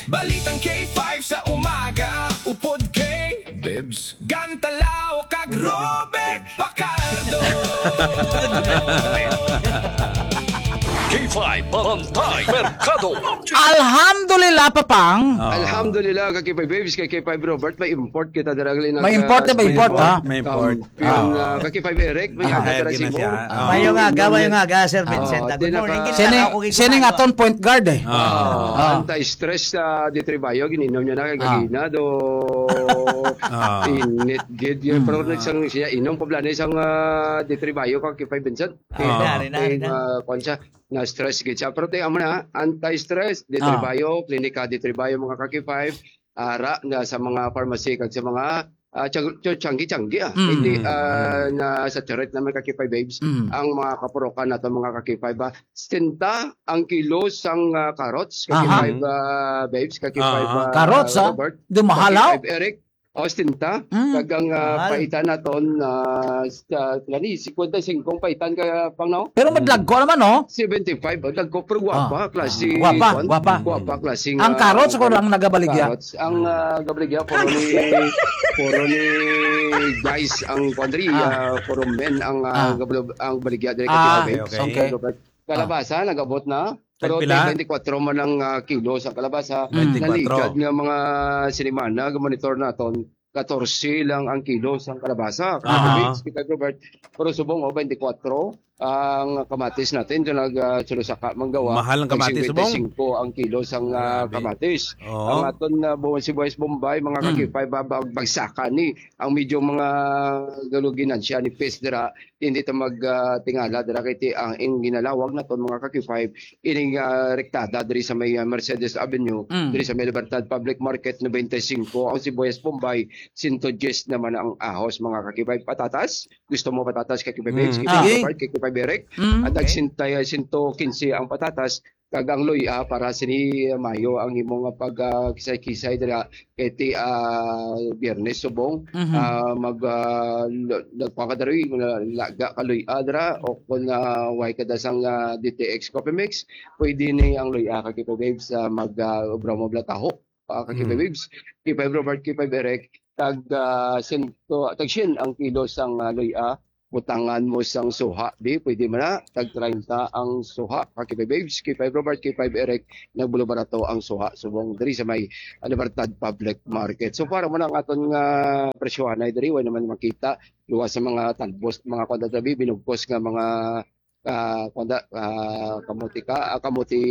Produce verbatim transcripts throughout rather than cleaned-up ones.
Balitang K five sa umaga, upod kay Bebs Gantalaw kag Robert Pacardo. K five Bantay Merkado. Alhamdulillah, Papang. Ah. Alhamdulillah, ka K five Babes, ka K five Robert, may import kita dira, gali na May ka import na, may import, Cebu. Ha? May import. Um, Yun, Ah. ah, ka K five Eric, may Ah. aga Hire tara gina Cebu. siya. Ah. Mayong aga, mayong aga, Sir Ah. Vincent. Ah, Good di na morning. ka- Gid Sining, na ako, gid sining na ako. aton point guard, eh. Ah. Ah. Anti-stress sa D three Bio, gininom niya na kay Ah. gagina, do Ah. init gid yun. Hmm. Pero Ah. nagsang siya, inom pa bala na isang, ah, D three Bio, ka K five Vincent. Ah. Ina, ina, Kay, ina. ah, kwan siya, na-stress gid siya. Pero tayo mo na, anti-stress, D three Ah. Bio, Klinika D three Bio, mga ka K five, ara na sa mga pharmacy kag sa mga, ah, tiyang-, tiyang-, tiyanggi-tiyanggi, ah. Mm. Hindi, ah, Mm. na-saturate naman ka K five Babes Mm. ang mga kapurukan nato, mga ka K five, ah. Sesenta ang kilo sang, ah, carrots, ka Aha. K five, ah, Babes, ka K five, Ah. ah, Carrots, ah? Robert, Dumahalaw? ka K five Eric, o, sesenta. Mm. Kag ang, ah, Mahal. paitan naton, ah, sa, gani, cincuenta y cinco ang paitan ka, pang, no? Pero Mm. madlagko naman, no? Seventy-five, ang dagko, pero gwapa, Ah. klase, Gwapa, kwan, gwapa. gwapa, klase Ang nga, carrots ko kwan, lang nagabaligya. carrots. Ang, ah, gabaligya, puro ni, puro ni guys, ang kwan diri, Ah. ah, puro men ang, ah, Ah. gabal-, ang baligya diri, Ah, kay Babes. okay. Okay. Kalabasa, nag-abot na. Pero Tagpila? twenty-four man ang, ah, kilo sa kalabasa. Mm. Twenty-four. Naligad nga mga sinimana, monitor naton, katorse lang ang kilo sang kalabasa. Aha. Kami, Speaker Robert, pero subong, oh, twenty-four ang kamatis natin. Ito nag, ah, sulusaka manggawa. Mahal ang kamatis, subong? Tag singkwenta y singko ang kilo sang, ah, Grabe. kamatis. Oo. Ang aton, ah, bu-, sibuyas Bombay, mga Mm. kakipay, ba-, ba-, bagsakan ni. Ang medyo mga galuginan siya ni Pes dira, hindi ta mag, ah, tingala dira kay ti-, ang, ang ginalawag naton, mga kakipay, ining, ah, rektada diri sa may, ah, Mercedes Avenue, Mm. diri sa may Libertad Public Market, noventa y cinco ang sibuyas Bombay, sento diyes naman ang ahos, mga kakipay. Patatas, gusto mo patatas, kakipay Mm. Babes, Ah. kakipay Sige. Robert, kakipay Berek? Mm. At ag Okay. sintay, sento kinse ang patatas, kag ang luya para sini Mayo ang imo nga pag, ah, kisay-kisay dira kay ti, ah, Biyernes subong, Mhm. ah, mag, ah, l-, nagpakadaroy, mga laga ka luya dira, o kung, ah, way ka da sang, ah, D T X Coffee Mix, pwede ni ang luya ka kita, Babes, sa mag, ah, obra mo blataho. Ah, ka K five Mm. Babes, K five Robert, K five Eric, tag, ah, sento, tag syen ang kilo sang, ah, luya, butangan mo sang suha, di, pwede man na, tag treinta ang suha, ka K five Babes, K five Robert, K five Eric, nagbulubarato ang suha, subong diri sa may, ah, Libertad Public Market. So, para mo na ang aton nga presyohanay diri, way naman makita, luwas sa mga talbos, mga kwan tabi, binugkos nga mga ah, kuwan da, ah, kamuti ka, ah, kamuti,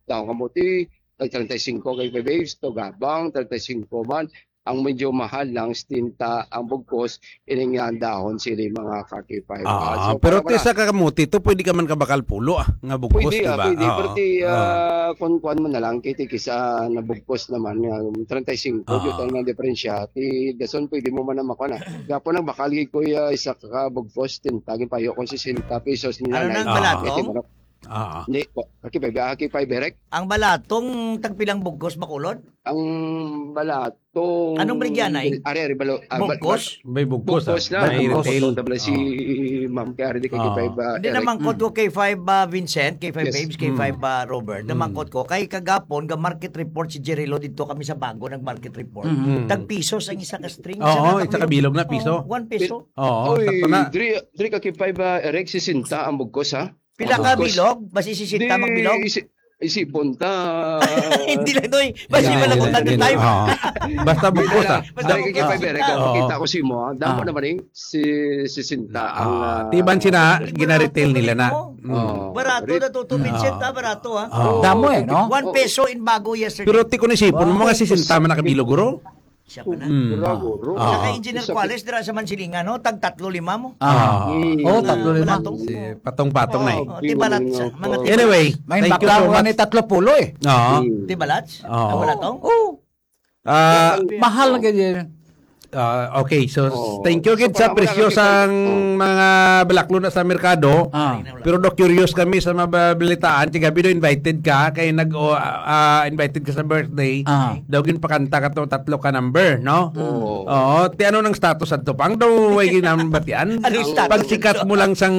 daw kamuti, tag treinta y cinco kay Babes, to gabang, treinta y cinco man. Ang medyo mahal lang, setenta ang bugkos, ining nga ang dahon sili, mga kakipay. Ah, So, pero para ti wala. sa kakamuti to, pwede ka man kabakal pulo, ah, nga bugkos, Pwede, di ah, ba? pwede. Oo, Pero ti, oo. ah, kung kuwan mo na lang, kay ti kisa nabugkos naman nga, treinta y cinco, Oo. yun ang diferensya. Ti dason, pwede mo man na makuha na. Gapo nang bakal, gid, kuya, isa ka bugkos, tinta, ginpayo ko sesenta pesos nila Ano na nang ang Ah. balatong? iti manok. Ah. Hindi po. Aki pa, aki pa, Berek. Ang balatong tagpilang bugkos, Bacolod? Ang balatong Anong baligya, Nay? Ari, ari, balo-, ah, ba-, Bugkos? ba-, May bugkos, bugkos ah. na. May Bugkos. retail. Tabla si Ah. Ma'am, kay ari di kay Ah. kay pa, Hindi Eric. naman ko Mm. to kay five, ah, Vincent, kay five Yes. Babes, kay Mm. five, ah, Robert. Mm. Naman ko kay kagapon, ga market report si Jerry Lo dito kami sa Bago, nag-market report. Mm. Tag pisos ang isa ka string, Oo, isa ka isa ka bilog. bilog na piso. Oh, one peso. Oo, Oy, sakto na. diri, diri ka kay five, ah, Eric, sesenta ang bugkos, ha? Pila ka Bugkos. bilog? Basi sesenta Di, magbilog? isi-, isipon ta. Hindi lang, doy. Basi Hindi, wala ko hindi, hindi. time. Oo. Basta bugkos, ah. Basta Diri ka kay bugkos. five, Eric, Oo. makita ko si mo, ha? Damo Ah. naman, eh, si, sesenta ang, Ah, ah, tiban sina, Hindi ko na ginaretail nila na. ako. Mm. Oo. Barato Rit- na to, to, Vincent, Oo. ah, barato, ah. Oo. Damo, eh, no? One Oo. peso in Bago yesterday. Pero ti ko ni sipon, Wow. mga sesenta man nakabilog, guro. Siya pa na. Mm. Bravo, bro. Ah. Saka Engineer Isa Kuales, dira sa Mansilingan, no? Tag tatlo lima mo. Ah. Mm. Oh, tatlo lima. Balatong. Si Patong-Patong na eh. Oh, di balat sa mga Anyway, May thank you bakla so ko much. ni tatlo pulo eh. Oo. Mm. Di balat? Oo. Ang balatong? Oh. Ah, Mahal na ganyan. Ah, okay, so, Oo. thank you So, gid sa para presyo makakita- sang Oo. mga balaklo na sa merkado. Ah. Pero do curious kami sa mabalitaan. Kagabi do invited ka, kay nag, o, ah, invited ka sa birthday. Ah. Daw ginpakanta ka to, tatlo ka number, no? Oo. Oo, ti ano nang status adto, Pang? Daw way ginambatian? Anong status Pagsikat adto? mo lang sang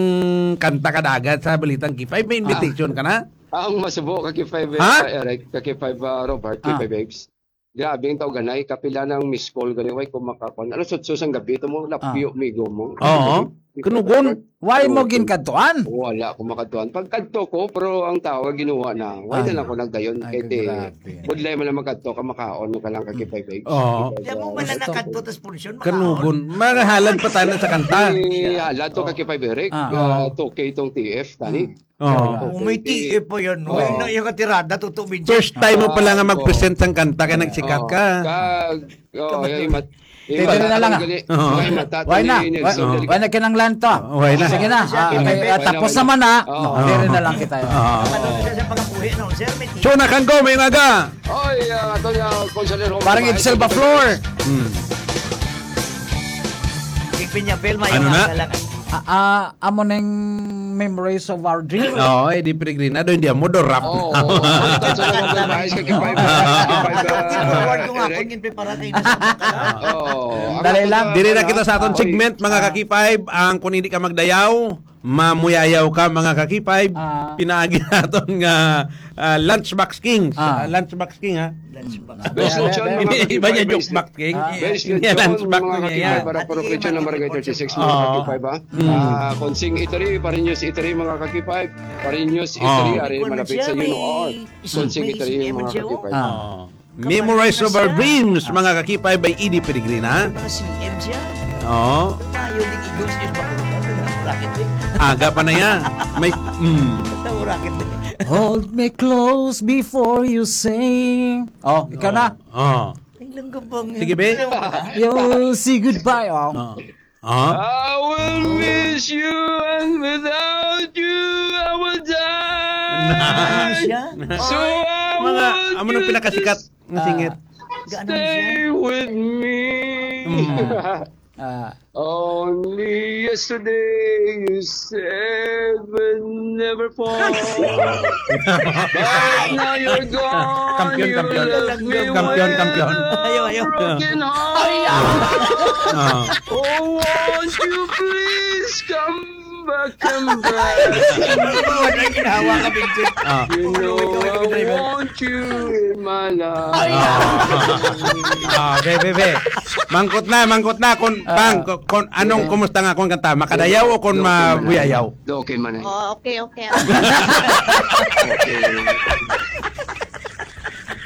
kanta ka dagat sa Balitang K five, may Ah. invitation ka na? Ang masubo ka K five, Ha? uh, Eric, ka K five, uh, Robert, Ah. K five Babes. Grabe ang tao ganay, kapila ng miss call gani, way ko makakuan. Alas otso sang gabi, ito mo, lapyo, Ah. migo mo. Oo. Kanugon. Why mo Oo. ginkadtuan? Wala ko makadtuan. Pagkadto ko, pero ang tao, ginuha na. Why na Ay. lang ko nagdayon? Ay, Kay ti, grabe. budlay man lang magkadto ka, makaon mo ka lang ka K five Babes. Oo. Kay Di mo man lang Gusto. nakadto, tas punsyon, makaon. Kanugon. Makahalad pa tayo sa kanta. Ay, halad to ka K five Eric. Ah. Ah, two K tong T F, tani. Mm. Oo. Oh, may T F pa yan, no? Oo. Yung, yung katirada, totoo, minsan. First time mo pala nga Ah, mag-present sang kanta, kaya nagsikat Oo. ka. Kag, oh, Kamat- yung mat-, yung Pwede na mata lang, ko ah. gali. Oo. Yung mata ko Why na? ni Why, Nelson Delic. why na kinanglan to? Oh, why na? Sige na. Ah, Why okay, na? ah, Why na? tapos Why na? naman na. Oo. No, dire na lang kita. Oo. Ano na siya sa pagkabuhi, no? Sir, may T F. Chona Kanggo, may umaga. Oy, ah, ato na, Consuelo Parang Roman, Itzel Baflor. Hmm. Big Pinya Film, Ano na? Lang. Ah, ah, amo ning Memories of Our Dream. Oo, Eddie Peregrina, doon di amo, do rap. Oo, oo. Sa mga babae, sa K five, K five, Forward ko nga, Eric. Kung yun, preparate na sa mga Oo. Dali Ako lang. na Diri na wala. kita sa aton Ah, oy. segment, mga Ah. ka-K five. Ang kung hindi ka magdayaw, mamuyayaw ka, mga ka-K five. Ah. Pinaagi naton nga, ah, Lunchbox Kings. Ah. Ah, Lunchbox King, ha? Lunchbox. Best lechon, mga Iba niya ka-K five, joke best back, King. Ah. Best Hindi, lechon, lunch back mga na niya ka-K five, yan. Para Pati Protection, yung Number mga Thirty-six, mga Oo. ka-K five, ha? Mm. Ah, Konsing Eatery, Parinyos Eatery, mga ka-K five. Parinyos Oo. Eatery, ari, Kung malapit sa siya Yuno, may oo. Konsing May Eatery, C M mga siya, oh. ka-K five. Ah. Oo. Memorize of Our Dreams, mga ka-K five, by Eddie Peregrina. Mga C M siya. Oo. Tayo, di igos, eh, bakit? Bakit, eh? Aga pa na yan. May, mm. Bakit, eh? Hold me close before you say. Oh, ikaw na. Oo. Ay, lang ka bang Sige, be. Yo, say goodbye, oh. Oo. Ah? I will miss you and without you, I will die. Ano siya? So I Mga, want amo nang you pinakasikat to nga singer. Ah, gaano na siya? Stay with me. Mm. Ah. Only yesterday you said we'll never fall. But now you're gone, Kampiyon, you kampiyon. left me Kampiyon, with kampiyon. a Ayaw, ayaw. broken heart. Ah. Oh, won't you please come back, come back? Wala ginawa ka, Vincent. Ah. You know I want you in my life. Ah. Ah, be, be, be. Mangkot na, mangkot na. Kung, Ah. bang, kung, kung anong, Okay. kumusta nga akong kanta? Makadayaw o kung Okay man. mabuyayaw? Okay man eh. Oh, okay, okay. Okay.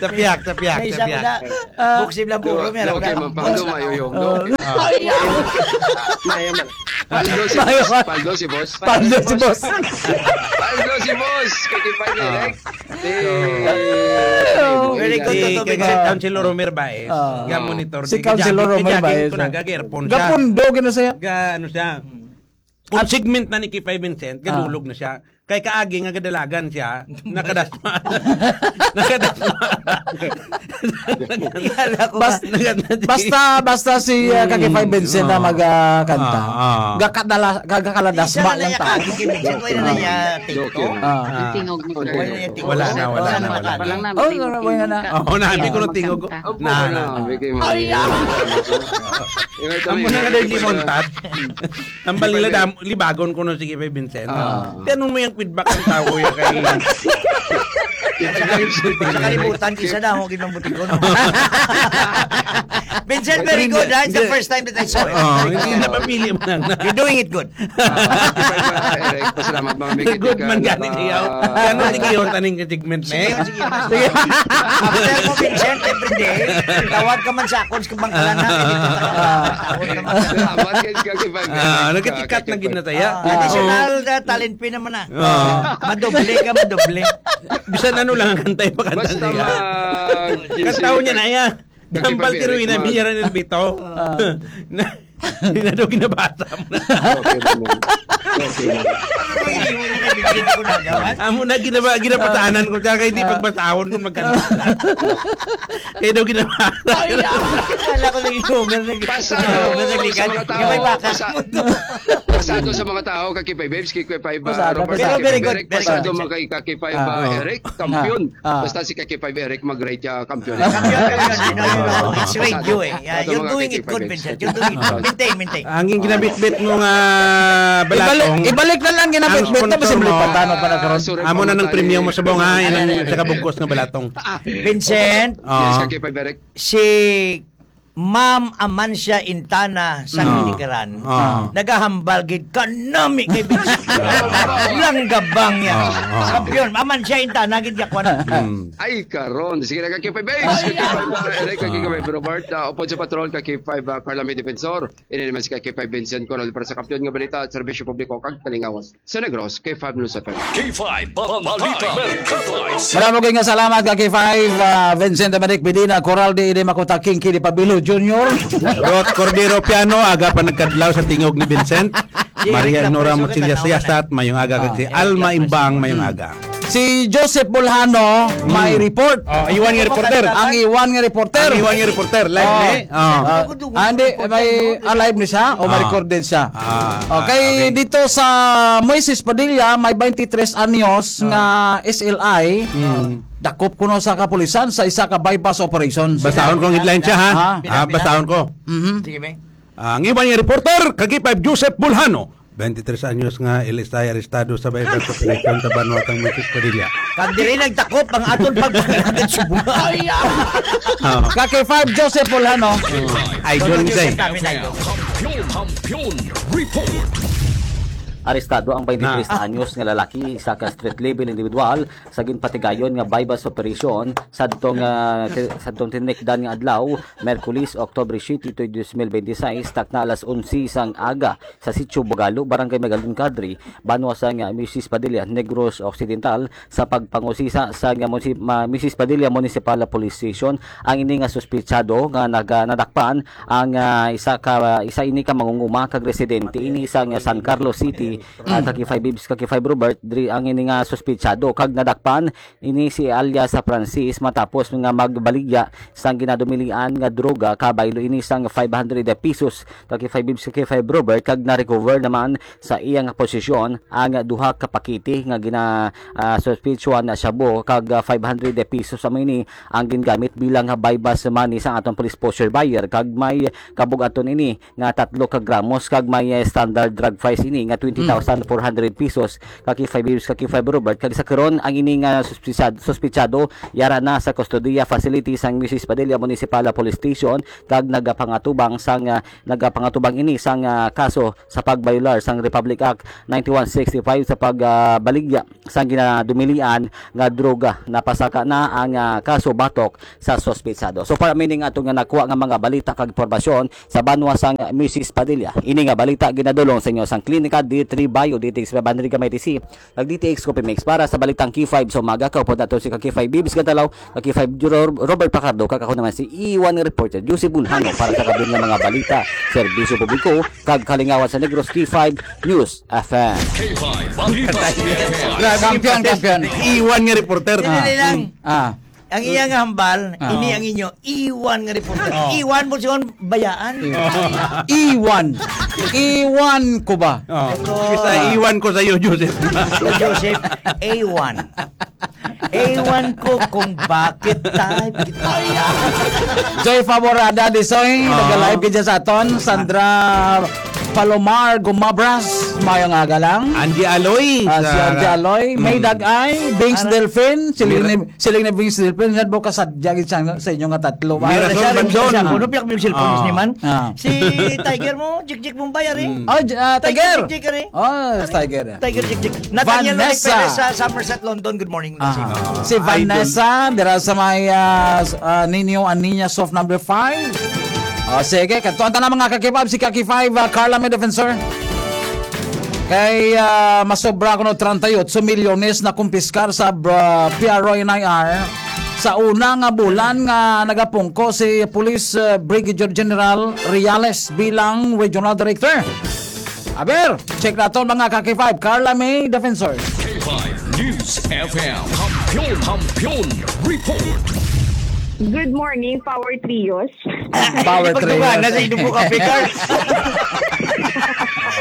Tapiak, tapiak, May isa ko tapiak. na. Ah. Buksib lang puro, meron Okay na. man, Paldo, mayuyong, no? Ah. Maya man. Paldo si Mayo boss, ka. Paldo si boss. Paldo si boss. Paldo si boss. Kakipay Ah. direct. Si Very good, Si, Toto kay Vincent. Councilor Romer Baez, Ah. ga-monitor Si di, Councilor ga-, Romer ga-, Baez, ga-, ah. ga-, ga-earphone siya. Gapundo, gina siya. Ga-, ano siya? Kung At segment na ni Kipay Vincent, Ah. gadulog na siya. Kay kaagi nga gadalagan siya, nakadasma. Nakadasma. Kala ko Bas-, ba? Nakadasma. basta, basta si, ah, Mm. Kakipay Vincent na Oo. mag, ah, kanta. Ah, ah. Gakadala-, gagakaladasma Isa na lang lang ya tao. kaagi kay Vincent, wala na ya TikTok. Okay. Ah. Ah. Tingog mo. Wala na, wala na, wala na. Wala na, Oh, tingog, wala na. tingog ka. Oo, nabi ko na tingog ko. Tingog ka. Na, na. Opo, na, bigay mo. Ay, ah. Ito Amo yung na nga daw hindi montad. Ang balila dam-, libagon ko nung sige, Vincent. Ah. Di, anong may ang feedback ng tao ya kay Sa kalibutan, isa na akong ginambutikon. Vincent, very good, ha? It's the Hindi. first time that I saw it. Oh, hindi na papili mo lang na. You're doing it good. Ah, Eric, pasalamat, mga Good man ka, gani, ah, Tiyaw. Ano, di kayo taning ka-segment na eh. Sige, sige. Sige. After mo, Vincent, every day, tawag ka man sa akon sa kabangkalan, ha? Ah. Tawag ka man sa Salamat, guys, kag iba, Ah, nagkitikat kag na iba. ginataya. Ah, Oo. additional, uh, talent fee naman, ah. Ah. Madoble ka, madoble. Bisan ano lang ang kantay, pakanta Basta niya. ma-, Kantaon niya na, ya. Kag Tambal iba, tiruin na, ma- Miyaran Elbito. Ah. Na, Hindi na daw ginabasa mo na. Okay naman. Okay naman. Ano ba yung hindi mo nabigyan ko na gawan? Amo na ginaba-, ginapatanan ko siya, kaya di Ah. pagbasahon kung magkano. Kaya daw ginabasa. Ay, ah. Kala ko nag-inuman, nag-, Pasado nag-inuman, sa nag-ikan. mga tao, Yung may bakas pasa-, mo to. pasado sa mga tao, Kakipay Babes, Kakipay Ba-, Pasado, Robert, pasado. Kakipay Very good, Eric, very pasado good. mga kay Kakipay Ah, Ba-, oo. Eric, Ah, kampiyon. ah. Basta si Kakipay Eric, mag-rate siya, kampiyon. Kampiyon, kampiyon. You know, you know, it's radio eh. Yeah, Pasado you're mga doing it Kakipay good, Babes. Vincent. You're doing it good. Maintain, maintain. Ang ginabitbit mo nga balatong, ibalik, ibalik na lang ginabitbit, ang sponsor mo, tapos simple pa, tano pa na karon. Sorry, amo na nang pamatay. Premyo mo subong, ha, yan ang sa kabugkos nga balatong. Vincent, ah, yes, Kaki Paberic. Si Ma'am Amancia Intana sa, mm, Ginikaran, ah, nagahambal gid kanami kay Vincent. Langgabang niya. Ah, ah. Kampiyon, Amancia Intana gid yakwan. Mm. Ay, karon. Sige na, Kaki Five Ace. Kaki Five, uh, Eric, Kaki Five Robert, uh, upod sa patrol, Kaki Five, uh, Carla May Defensor. Ini naman si Kaki Five Vincent Coral para sa Kampiyon nga Balita at Serbisyo Publiko kag Kalingawan sa Negros, Kaki Five News F M. K five Balita Merkado. Marami kayo nga salamat, Kaki Five, uh, Vincent Dominic Medina, Coral D D Makuta, King Kili Pabilo Junior. Ruth Cordero Piano, aga pa nagkadlaw sa tingog ni Vincent. Maria Nora Muchilyas Yasat, mayong aga, kag si Alma Imbang, mayong aga. Si Joseph Bolhano may report. Oh, iwan nga reporter. Ang iwan nga reporter. Ang iwan nga reporter, live ni. Oh. Ah, hindi, may alive ni siya o may recorded siya. Ah, okay, okay. Dito sa Moises Padilla, may twenty-three anyos nga S L I. Mm. Dakop kuno sa kapulisan sa isa ka buy-bust operation. Basahon ko ang headline siya, ha? Ah, basahon ko. Mhm. Sige, be. Ang iban nga reporter, Kaki Five Joseph Bolhano, twenty-three anyos nga L S I arestado sa buy-bust operation sa banwa kang Moises Padilla. Kag diri nagtakop ang aton pagpangalagan subong. Ay, ah. Oh. Kaki Five Joseph Bolhano. Idol ni kay. Kampiyon, Kampiyon Report. Arestado ang twenty-three anyos nga lalaki, isa ka street level individual, sa ginpatigayon nga buy-bust operation sadtong, ah, ti-, sadtong tinikdan nga adlaw, Miyerkules, Oktubre siete, tuig dos mil benti seis, takna alas onse sang aga sa Sitio Bugalo, Barangay Magaling Kadri, banwa sang, ah, Moises Padilla, Negros Occidental, sa pagpangusisa sa nga munsi-, ma-, Moises Padilla Municipal Police Station. Ang ini nga suspetsado nga naga-, nadakpan ang, ah, isa ka, isa ini ka mangunguma kag residente ini sa nga San Carlos City, ah, Kaki Five Bibs, Kaki Five Robert, diri ang ini nga suspetsado kag nadakpan ini si alias sa Francis matapos nga magbaligya sang ginadumilian nga droga, kabaylo ini sang five hundred pesos, Kaki Five Bibs, Kaki Five Robert, kag na-recover naman sa iya nga posisyon ang duha ka pakete nga gina, ah, suspetsyohan na shabu kag, ah, five hundred pesos. Amo ini ang gingamit bilang buy-bust money sa aton police poseur buyer kag may kabug-aton ini nga tatlo ka gramos kag may, eh, standard drug price ini nga twenty thousand four hundred pesos, Kaki Five Bibs, Kaki Five Robert, kag sa karon ang ini nga suspisa-, suspitsado yara na sa kustodiya facility sang Moises Padilla Municipal Police Station kag nagapangatubang sang, ah, nagapangatubang ini sang, ah, kaso sa pagbayolar sang Republic Act ninety-one sixty-five sa pag, ah, baligya sang ginadumilian nga droga. Napasaka na ang, ah, kaso batok sa suspetsado. So, para mining ato nga nakuha nga mga balita kag impormasyon sa banwa sang Moises Padilla. Ini nga balita ginadulong sa inyo sang Klinika D three Bio, D T X five hundred Gamay T C, kag D T X Coffee Mix. Para sa Balitang K five sa umaga, kaupod nato si Kaki Five Bibs Gantalaw, Kaki Five Ro-, Robert Pacardo, kag ako naman si Iwan nga reporter, Juicy Bulhano, para sa kabuhi nga mga balita, serbisyo publiko, kag kalingawan sa Negros, K five News F M. K five Balita. Grabe, kampiyon, kampiyon. Iwan nga reporter. Dili lang. Ah. Ang iya nga hambal, ah, ini ang inyo iwan nga reporter. Oh. Iwan mo siya bayaan. Iwan. Iwan ko ba? Oh. Ito. Basta iwan ko sa iyo, Joseph. Joseph, A one. Ewan ko kung bakit type kita. Joy Favorada Disoy, ah, nag-live ka dyan sa aton. Sandra Palomar Gumabras, mayong aga lang. Angie Aloy, ah, si sa Angie Aloy, mm, May Dag-ay, Bings Ara- Delfin, siling ni, Mira- siling ni Bings Delfin, nga bukas sa, dyan sa, sa inyo nga tatlo. Mira Ara Sol siya rin Banson. Siya, kuno piyak yung cellphone, ah, ni man. Ah. Si Tiger mo, Jikjik Bombay, ari. Mm. Oh, J-, ah, Tiger Tiger. Jikjik, ari. Oh, Tiger. Tiger Jikjik. Nathaniel Vanessa. Lonic Perez sa Somerset, London. Good morning. Ah. Si Idol. Vanessa, dira sa may, ah, s-, ah, Nino Aniña Soft number five. Oh, sige, kadto ang tanan mga kakipab, si Kaki Five, ah, Carla May Defensor. Kay, ah, masobra kuno treinta y ocho milyones na kumpiskar sa, ah, P R O N I R sa una nga bulan nga nagapungko si Police, ah, Brigadier General Reales bilang Regional Director. Aber, check naton mga ka-K five, Carla May Defensor. K five News F M. Kampiyon, Kampiyon Report. Good morning, Power Trios. Power Trios. Pagduga na sa inyong buka, Picard.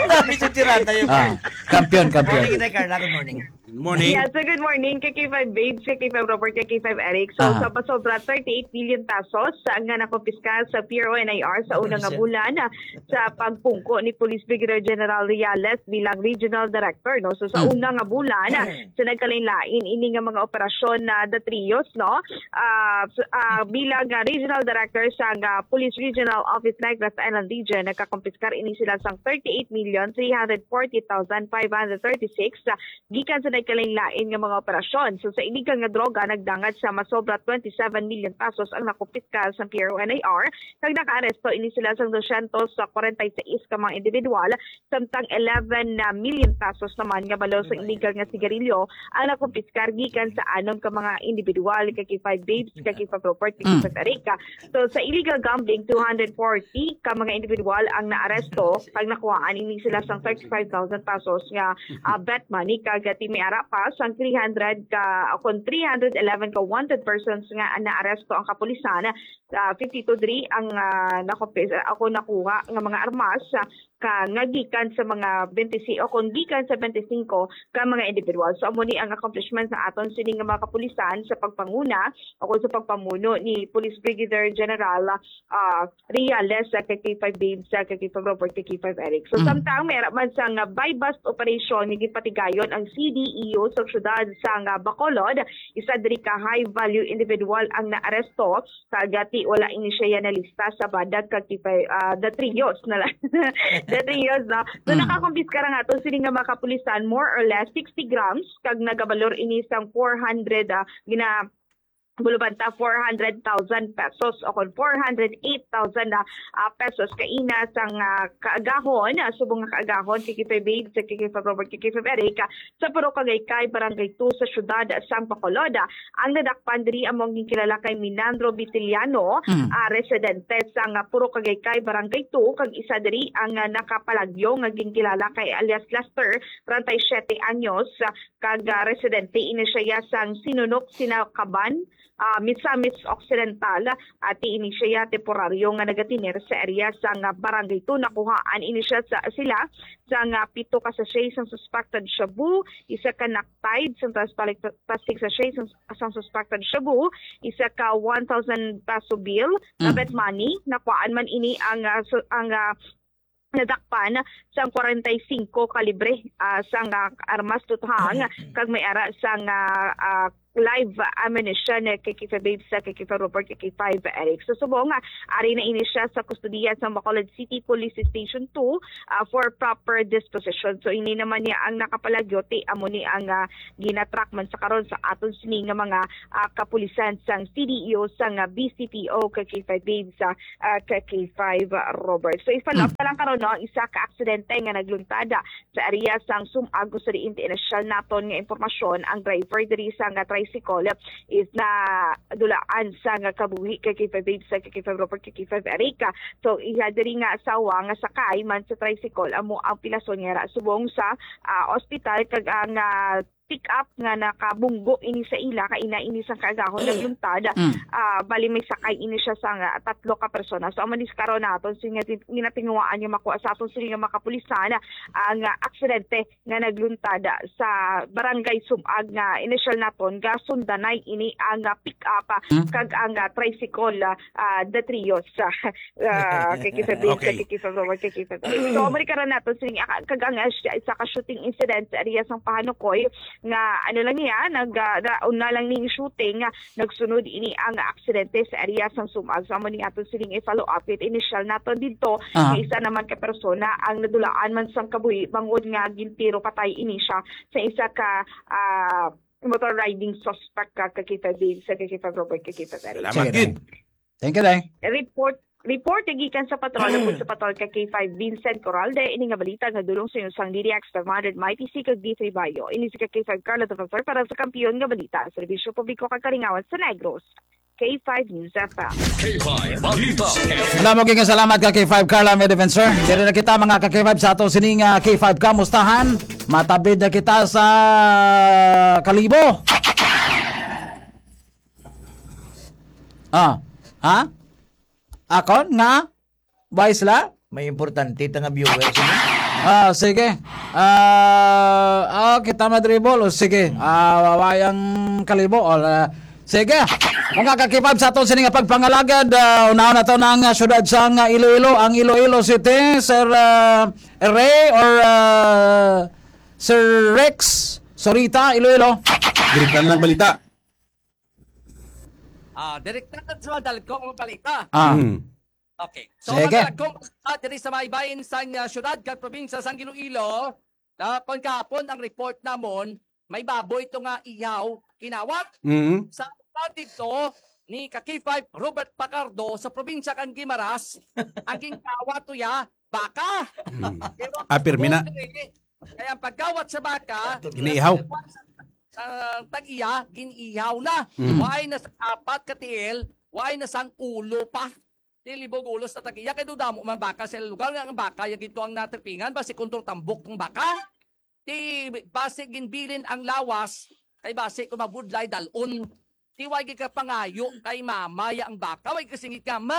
Sabi sa tirada yung Ah, kampiyon, kampiyon. Morning, Inday Carla. Good morning. Morning. Yeah, so good morning, K K five Babes, K K five Robert, K K five Eric. So, Aha. sa pasobra thirty-eight million pesos sa nga nakumpiskar sa P R O N I R sa Ano una nga siya? bulan, ah, sa pagpungko ni Police Brigadier General Reales bilang Regional Director, no? So, sa Mm. una nga bulan, ah, sa nagkalain-lain ini nga mga operasyon na The Trios, no? Ah, s-, ah, bilang, ah, Regional Director sa nga Police Regional Office Negros Island Region, nagkakumpiskar ini sila sang thirty-eight million three hundred forty thousand five hundred thirty-six, ah, gikan sa nagkalain-lain nga mga operasyon. So, sa illegal nga droga, nagdangat sa masobra twenty-seven million pesos ang nakumpiskar sa P R O N I R, kag nakaaresto ini sila sang dosyentos kwarenta y seis ka mga individual, samtang eleven na million pesos naman nga balor sa illegal nga sigarilyo ang nakumpiskar gikan sa anom ka mga individual, K K five Babes, K K five Robert, Mm. K K five Eric. So, sa illegal gambling, two hundred forty ka mga individual ang naaresto, kag nakuhaan ini sila sang thirty-five thousand pesos nga, ah, bet money, kag ti may ara pa sang three hundred ka, o kon three hundred eleven ka wanted persons nga naaresto ang kapulisan. Ah, fifty-two diri ang, ah, nakupis-, ako nakuha nga mga armas, ah, ka, nga gikan sa mga twenty-six o kon gikan sa twenty-singko ka mga individual. So, amo ni ang accomplishments sa aton sini nga mga kapulisan sa pagpanguna o kon sa pagpamuno ni Police Brigadier General, ah, Reales, sa K K five Babes, sa K K five Robert, K K five Eric. So, Mm. samtang may ara man sang, ah, buy-bust operation nga ginpatigayon ang C D E O sa syudad sang, ah, Bacolod, isa diri ka high-value individual ang naaresto, kag ti wala ini siya nalista sa badag kag tipay, ah, The Trios na lang. The Trios, no? So, Mm. nakakumpiskar ang aton sini nga mga kapulisan, more or less sixty grams, kag nagabalor ini sang four hundred, ah, gina-, bulubanta, four hundred thousand pesos o kon four hundred eight thousand, ah, ah, pesos kaina sang, ah, kaagahon, ah, subong nga kaagahon, K K five Babes, K K five Robert, K K five Eric, ah, sa Purok Agaycay, Barangay two sa siyudad sang Bacolod. Ang nadakpan diri amo ang ginkilala kay Minandro Vitiliano, Mm. ah, residente sang, ah, Purok Agaycay, Barangay two, kag isa diri ang, ah, nakapalagyo nga ginkilala kay alias Lester, treinta y siete anyos, ah, kag, ah, residente ini siya sang Sinunok, Sinakaban, ah, Misamis Occidental. Ati ini siya temporaryo nga nagatener sa area sang, ah, Barangay two. Nakuhaan ini siya sa, sila sang, ah, pito ka sachet sang suspected shabu, isa ka Nactide sang trans-, plastic sachet sang, sang suspected shabu, isa ka one thousand peso bill, Mm. nga bet money. Nakuhaan man ini ang, ah, su-, ang, ah, nadakpan sang kwarenta y singko kalibre, ah, sang, ah, armas tuthang, kag may ara sang, ah, ah, live ammunition, eh, K K five Babes, ah, K K five Robert, K K five Eric. So, subong nga, ari na ini siya sa kustodiya sa Bacolod City Police Station two, ah, for proper disposition. So, ini naman niya ang nakapalagyo, ti amo ni ang, ah, ginatrack man sa karon sa aton sini nga mga, ah, kapulisan sang C D E O sang, ah, B C P O, K K five Babes, ah, ah, K K five Robert. So, i-follow up Mm. na lang karon, no, ang isa ka aksidente nga nagluntad, ah, sa area sang Sumag, kung sa diin ti inisyal naton nga impormasyon, ang driver diri sang, ah, tricycle is nadulaan sang, ah, kabuhi, K K five Babes, K K five Robert, K K five Eric. So, iya diri nga asawa nga sakay man sa tricycle amo ang pilason nga yara subong sa, ah, ospital, kag ang, ah, pick-up nga nakabunggo ini sa ila, kaina ini sang kaagahon nagluntad. Mm. Ah, bali may sakay ini siya sang, ah, tatlo ka persona. So, amo ni sa karon naton, so, nga tin-, ginatinguhaan nga makuha sa aton sini nga mga kapulisan ang, ah, aksidente nga nagluntad sa Barangay Sumag nga inisyal naton, gasundanay ini ang, ah, pick-up, ah, Hmm? kag ang, ah, tricycle, ah, ah, The Trios, ah, ah, K K five Babes, Okay. K K five Robert, K K five Babes. So, amo ni karon naton sini, ah, kag ang, ah, siya, isa ka shooting incident sa area sang Pahanukoy nga, ano lang niya, nag, ah, na, una lang ning shooting, ah, nagsunod ini ang aksidente sa area sang Sumag. So, amo ni aton sining i-follow up with initial naton didto, Ah. nga isa naman ka persona ang nadulaan man sang kabuhi bangod nga gintiro patay ini siya sa isa ka, ah, motor riding suspect ka, K K five Babes, K K five Robert, K K five Eric. Salamat, Sige, Gid. Day. Thank you, Day. Report, report gikan sa patrol, upod sa patrol ka K five Vincent Coralde, ini nga balita nga dulong sa inyo sang D D X five hundred Mighty C kag D three Bayo. Ini si ka K five Carla Defensor para sa Kampiyon nga Balita, Serbisyo Publiko kag Kalingawan sa Negros. K five News F M. K five Balita. Wala mo, gikan salamat ka K five Carla, may defensor. Diri na kita, mga ka K five, sa ato sining, ah, K five Kamustahan. Matabid na kita sa Kalibo. Ah, ha? Akon nga? Vice la? May importante ta nga viewers, ano? Ah, sige. Ah, ah, kita madribol. O, sige. Ah, wawayang kalibo. O, ah, sige. Mga kakipab sa aton sini nga pagpangalagad, ah, unahon nato na ang, ah, syudad sang, ah, Iloilo, ang Iloilo City, Sir, ah, Ray or, ah, Sir Rex Sorita, Iloilo. Direkta na lang balita. Ah, direkta na sa dalagkong balita. Ah. Mm. Okay. So, Sige. Madalagkong balita diri sa may bahin sang, ah, syudad kag probinsya sang Iloilo. Na kon kahapon ang report namon, may baboy to nga ihaw, kinawat. Mm. Sa dito ni ka K five Robert Pacardo sa probinsya kang Guimaras, ang ginkawat to ya, baka. Mm. Pero Ah, pirmi na. ang buhay, kaya ang pagkawat sa baka, Iniihaw. sa tag-iya, gin-ihaw na. Mm. Waay na sa apat ka tiil, waay na sang ulo pa. Di libog ulo sa tag-iya, kay dudamo man baka sa lugar nga ang baka, ya gito ang natripingan, basi kontrol tambok ang baka. Di basi ginbilin ang lawas, kay basi kung mabudlay, dalon. Di way gid ka pangayo kay mama ya ang baka, way kasingit ka, "Ma!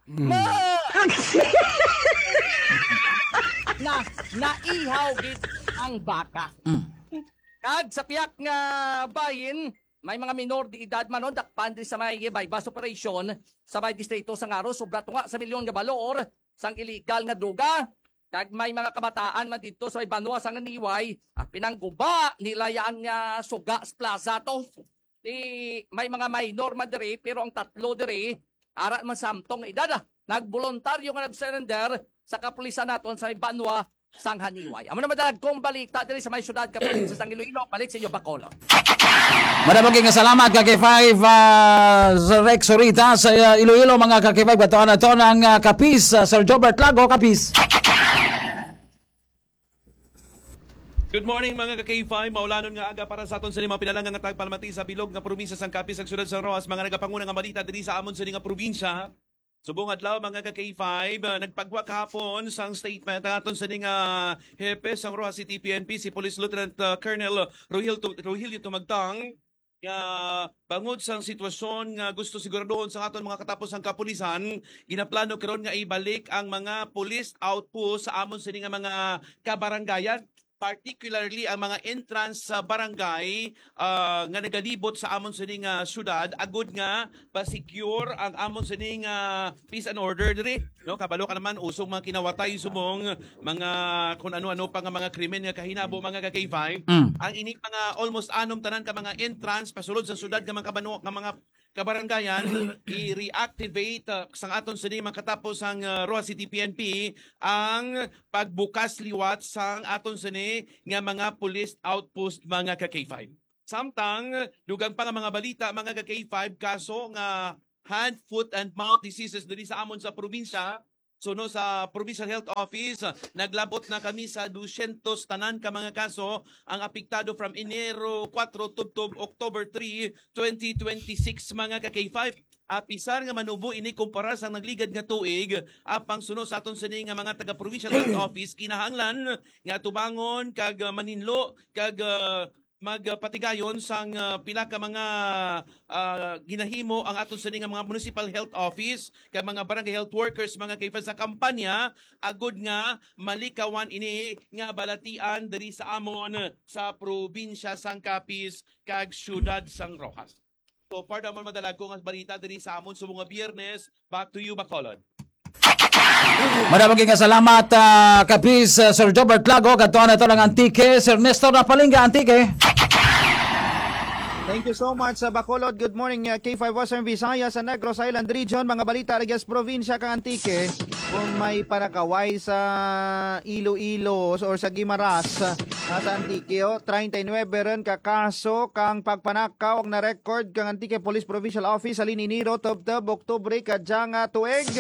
Mm. Ma!" Na, naihaw gid ang baka. Mm. Kag sa piyak nga bahin, may mga minor de edad man, no, dakpan diri sa may buy-bust operation sa may distrito sang Aro, sobra tunga sa milyon nga balor sang illegal nga droga. Kag may mga kabataan man dito sa may banwa sang Haniway, ah, pinangguba nila yang, ah, suga sa plaza to. Di, may mga minor man diri, pero ang tatlo diri, ara man samtong nga edad, ah, nagboluntaryo nga nag-surrender sa kapulisan naton sa may banwa sang Haniway. Amo na madalagkong balita diri sa may syudad kag probinsya sang Iloilo. Balik sa inyo, Bacolod. Madamo nga salamat, ka K five, ah, Sir Rex Sorita sa, ah, Iloilo, mga ka K five. Katuan naton ang, ah, Kapis, ah, Sir Jobert Lago, Kapis. Good morning, mga ka K five. Maulanon nga aga para sa aton sa mga pinalangga nga tagpalamati sa bilog nga probinsya sang Capiz, sa syudad sa Roxas. Mga nagapanguna nga balita diri sa amon sa nga probinsya. Subong adlaw, mga ka K five, ah, nagpagwa kahapon sang statement ang aton sa nga hepe sang Roxas City P N P, si Police Lieutenant, ah, Colonel Rogelio Tu-, Rogelio Tumagtang, nga bangod sang sitwasyon nga gusto siguraduhon sa aton mga katapos ang kapulisan, ginaplano karon nga ibalik ang mga police outpost sa amon sini nga mga kabarangayan, particularly ang mga entrance sa barangay, ah, nga nagalibot sa amon sini nga syudad, agud nga pa-secure ang amon sini nga peace and order diri, no? Kabalo ka naman, usog mga kinawatay subong mga kun ano-ano pa nga mga krimen nga kahinabo, mga ka K five. Mm. Ang ining mga almost anom tanan ka mga entrance pasulod sa syudad nga mga kabano-, nga mga kabarangayan, i-reactivate, uh, sang aton sini makatapos ang, uh, Roxas City P N P ang pagbukas liwat sang aton sini nga mga police outpost, mga ka K five. Samtang dugang pa nga mga balita, mga ka K five, kaso nga hand, foot, and mouth diseases diri sa amon sa probinsya. So, no, sa Provincial Health Office, ah, naglabot na kami sa dusyentos tanan ka mga kaso ang apektado from Enero kuwatro tubtob October three, twenty twenty-six, mga ka K five. Apisar nga manubo ini kumpara sa nagligad nga tuig, apang suno sa aton sini nga mga taga Provincial Health Office, kinahanglan nga tubangon kag, ah, maninlo kag, ah, magpatigayon sang, ah, pila ka mga, ah, ginahimo ang aton sini nga mga municipal health office kag mga barangay health workers, mga K five, sa kampanya agud nga malikawan ini nga balatian diri sa amon sa probinsya sang Capiz kag siyudad sang Roxas. So, para naman madalagko nga balita diri sa amon subong nga Biyernes, back to you, Bacolod. Madamo nga salamat, ah, Kapis, ah, Sir Jobert Lago. Katuan nato lang Antique, Sir Nestor Napalinga, Antique. Thank you so much, sa Bacolod. Good morning, uh, K five Western Visayas, sa Negros Island Region. Mga balita ragyan sa probinsya kang Antique. Kung may panakaway sa Iloilo or sa Guimaras, uh, sa Antique, oh, treinta y nueve ron ka kaso kang pagpanakaw ang na-record kang Antique Police Provincial Office halin Enero tubtob Oktubre kadya nga tuig.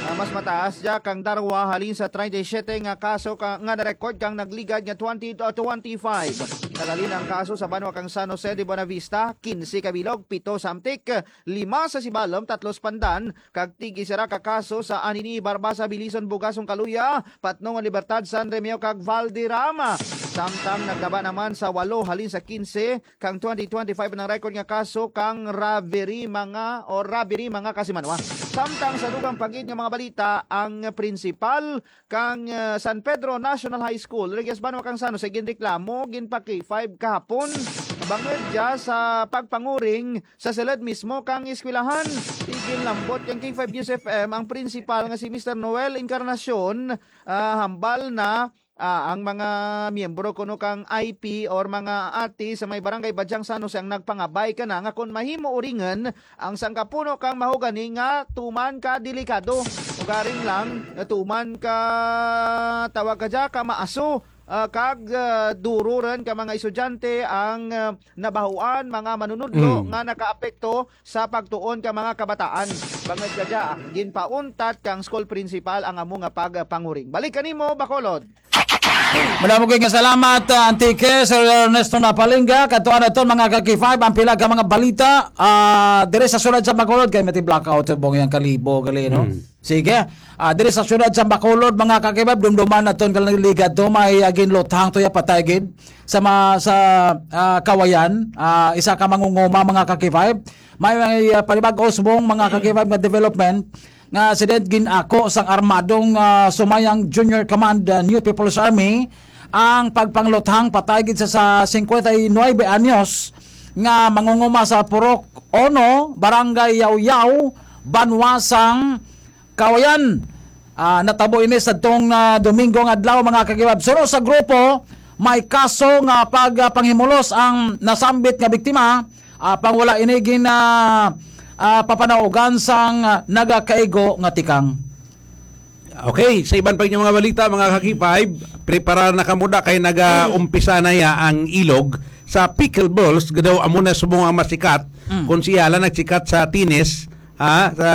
Ah, mas mataas dya kang darwa halin sa treinta y siete nga kaso ka, nga na-record kang nagligad nga twenty twenty-five. Naghalin ang kaso sa banwa kang San Jose de Buenavista, quince ka bilog, pito sa Amtic, lima sa Sibalom, tatlo sa Pandan, kag tig-isa ra ka kaso sa anini Barbaza, Belison, Bugasong, Caluya, Patnongon, Libertad, San Remigio, kag Valderrama. Samtang nagtaba naman sa walo halin sa kinse kang twenty twenty-five ang record nga kaso kang robbery mga o robbery mga kasimanwa. Samtang sa dugang pagid nga mga balita, ang prinsipal kang, ah, San Pedro National High School, Reyes Banwa kang Sano, sa ginreklamo, ginpa-K five kahapon bangod dya sa pagpanguring sa silid mismo kang eskwelahan. Iginlambot kang K five News F M ang prinsipal nga si Mister Noel Encarnacion, ah, hambal na, ah, ang mga miyembro kuno kang I P or mga ati sa may barangay Badyang San Jose ang nagpangabay kana nga kon mahimo uringen ang sangkapuno kang mahogani nga tuman ka delikado. Ugaring lang, tuman ka tawag ka dya, ka maaso, ah, kag, ah, duro rin ka mga estudyante ang, ah, nabahuan, mga manunudlo Mm. nga nakaapekto sa pagtuon ka mga kabataan. Bangod ka dya, ginpauntat kang school principal ang amo nga pagpanguring. Balik kanimo, Bacolod. Madamo kayo nga salamat, ah, Antique, Sir Ernesto Napalingga. Katuan naton, mga ka-K five, ang pila ka mga balita, ah, dire sa syudad sa Bacolod, kay may blackout sa Bong yang Kalibo, gali, no? Hmm. Sige. Ah, dire sa syudad sa Bacolod, mga ka-K five, dumduman naton kalang ligad to, may, ah, ginluthang to ya patay gid sa ma-, sa, ah, Kawayan, ah, isa ka mangunguma, mga ka-K five. May, may, ah, panibag-o subong, mga ka-K five, nga development nga sila gin-ako sang armadong, ah, Sumayang Junior Command, ah, New People's Army ang pagpangluthang patay gid sa, sa cincuenta y nueve anyos nga mangunguma sa Purok Ono, Barangay Yaw-Yaw, Banwa sang Kawayan. Ah, natabo ini sa tong, ah, Domingo nga adlaw, mga ka-K five. Suno sa grupo, may kaso nga pag, ah, panghimulos ang nasambit nga biktima. Ah, pang wala ini gin, ah, ah, papanaugan sang, ah, nagakaigo nga tikang. Okay, sa iban pa inyong mga balita, mga ka-K five, prepara na kamo da kay naga-umpisa na ya ang ilog sa pickleballs, daw amo na subong ang masikat. Mm. Kung siya lang nagsikat sa tennis, ha, sa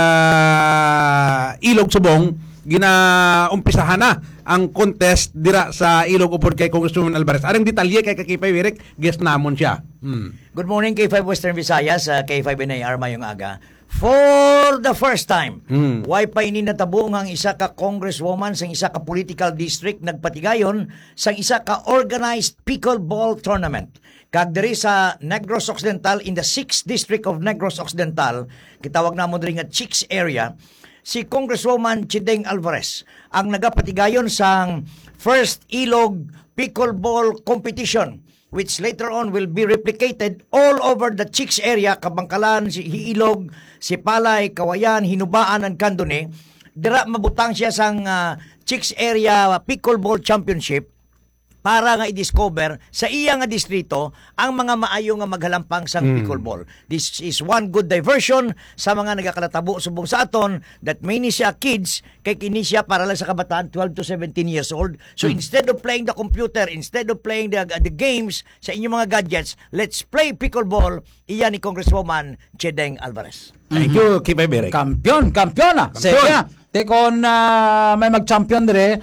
ilog subong, ginaumpisahan na ang contest dira sa ilog upod kay Congresswoman Alvarez. Arang detalye kay ka-K five, Eric, guest namon siya. Hmm. Good morning, K five Western Visayas, ah, K five N I R, mayong aga. For the first time, Hmm. way pa ini natabo nga ang isa ka congresswoman sang isa ka political district nagpatigayon sang isa ka organized pickleball tournament. Kag diri sa Negros Occidental, in the sixth district of Negros Occidental, gitawag namo diri nga Chicks area, si Congresswoman Chideng Alvarez ang nagapatigayon sang first Ilog Pickleball Competition, which later on will be replicated all over the Chicks area, Kabangkalan, si Ilog, Sipalay, Kawayan, Hinubaan, and Candoni. Dira mabutang siya sang, ah, Chicks Area Pickleball Championship para nga i-discover sa iya nga distrito ang mga maayo nga maghalampang sang Mm. pickleball. This is one good diversion sa mga nagakanatabo subong sa aton that many siya kids, kay kini siya para lang sa kabataan, twelve to seventeen years old. So, Mm. instead of playing the computer, instead of playing the, the games sa inyong mga gadgets, let's play pickleball, iya ni Congresswoman Chedeng Alvarez. Thank Mhm. you, K five Eric. Kampiyon, kampiyon, ah. Kampiyon. Sige, ah. Te kon, ah, may mag-champion dire,